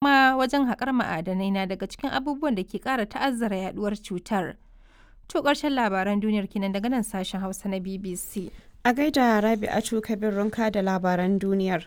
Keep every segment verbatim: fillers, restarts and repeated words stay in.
Kuma wajen haƙar ma'adanai na daga cikin abubuwan da ke ƙara ta'azzara yaɗuwar cutar. To ƙarshen labaran duniyar kenan daga nan sashen Hausa na B B C. A gaida Rabi'atu Kabir Runka da labaran duniyar.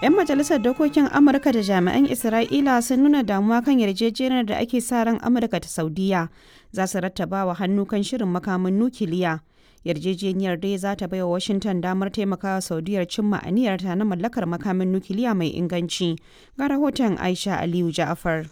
'Yan majalisar dokokin Amurka da jami'an Isra'ila sun nuna damuwa kan yarjejeniyar da ake sa ran Amurka ta Saudiya za su rattaba wa hannu kan shirin makamin nukiliya. Yarjejeniyar dai za ta baiwa Washington damar taimakawa Saudiyar cimma aniyarta na mallakar makamin nukiliya mai inganci. Ga rahoton Aisha Aliyu Ja'afar.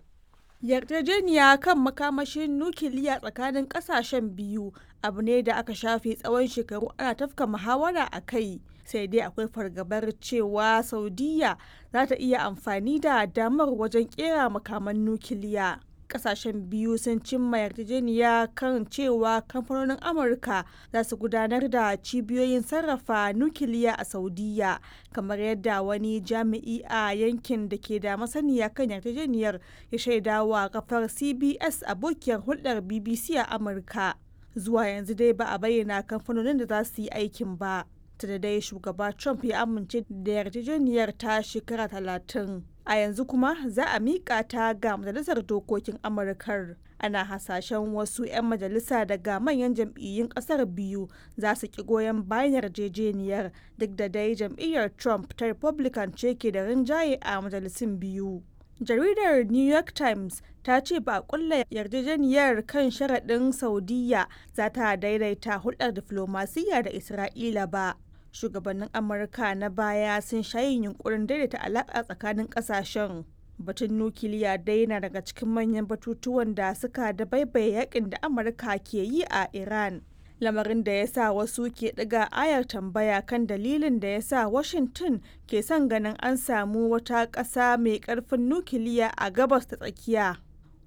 Yarjejeniya kan makamashin nukiliya tsakanin kasashen biyu abu ne da aka shafe tsawon shekaru ana tafka muhawara a kai, sai dai akwai fargabar cewa Saudiya za ta iya amfani da damar wajen kera makaman nukiliya. Kasashen biyu sun cimma yarjejeniya kan cewa kamfanonin Amurka za su gudanar da cibiyoyin sarrafa nukiliya a Saudiya, kamar yadda wani jami'i a yankin da ke da masaniya kan yarjejeniyar ya shaidawa kafar C B S, abokiyar hulɗar B B C a Amurka. Zuwa yanzu dai ba a bayyana kamfanonin da za su yi aikin ba. Da dai shugaba Trump ya amince da yarjejeniyar ta shekara talatin, a yanzu kuma za a miƙa ta ga Majalisar Dokokin Amurkar. Ana hasashen wasu 'yan majalisa daga manyan jam'iyyun ƙasar biyu za su ki goyon bayan yarjejeniyar, duk da dai jam'iyyar Trump ta Republican ce ke da rinjaye a majalisun biyu. Jaridar New York Times ta ce ba a kulla yarjejeniyar kan sharaɗin Saudiya za ta daidaita hulɗar diflomasiyya da Isra'ila ba. Shugabannin Amurka na baya sun sha yin yunkurin daidaita alaƙa tsakanin ƙasashen. Batun nukiliya dai na daga cikin manyan batutuwan da suka dabaibaye yakin da Amurka ke yi a Iran, lamarin da ya sa wasu ke ɗiga ayar tambaya kan dalilin da ya sa Washington ke son ganin an samu wata ƙasa mai ƙarfin nukiliya a Gabas ta Tsakiya.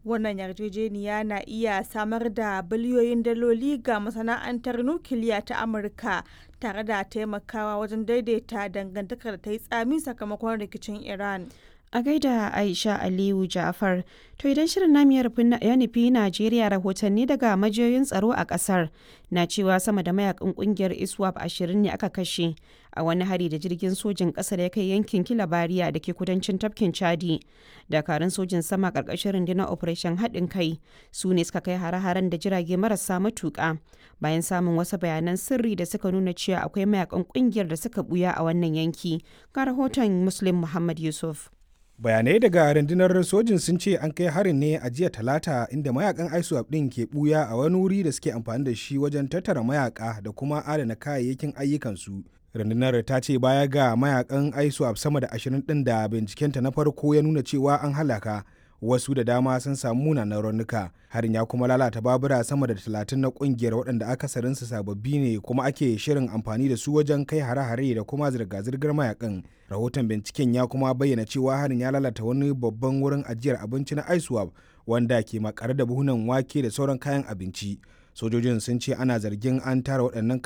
Wannan yarjejeniya na iya samar da biliyoyin daloli ga masana'antar nukiliya ta Amurka tare da taimakawa wajen daidaita dangantakar da ta yi tsami sakamakon rikicin Iran. A gaida Aisha Aliyu Ja'far. To idan shirin namu ya nufi Najeriya, rahotanni daga majiyoyin tsaro a kasar na cewa sama da mayakan kungiyar ISWAP ashirin ne aka kashe a wani hari da jirgin sojin kasar ya kai yankin Kilabariya da ke kudancin tafkin Chadi. Dakarun sojin sama karkashin rundunar Operation Haɗin Kai su ne suka kai hare-haren da jirage marasa matuƙa bayan samun wasu bayanan sirri da suka nuna cewa akwai mayakan kungiyar da suka buya a wannan yanki. Ga rahoton Muslim Muhammad Yusuf. Bayanai daga rundunar sojin sun ce an kai harin ne a jiya Talata, inda mayakan ISWAP din ke buya a wani wuri da suke amfani da shi wajen tattara mayaka da kuma adana kayayyakin ayyukansu. Rundunar ta ce baya ga mayakan ISWAP sama da ashirin din da bincikenta na farko ya nuna cewa an halaka, wasu da dama sun samu munanan raunuka. Harin ya kuma lalata babura sama da talatin na kungiyar, waɗanda akasarinsu sababbi ne kuma ake shirin amfani da su wajen kai hare-hare da kuma zirga-zirgar mayakan. Rahoton binciken ya kuma bayyana cewa harin ya lalata wani babban wurin ajiyar abinci na ISWAP wanda ke makare da buhunan wake da sauran kayan abinci. Sojojin sun ce ana zargin an tara waɗannan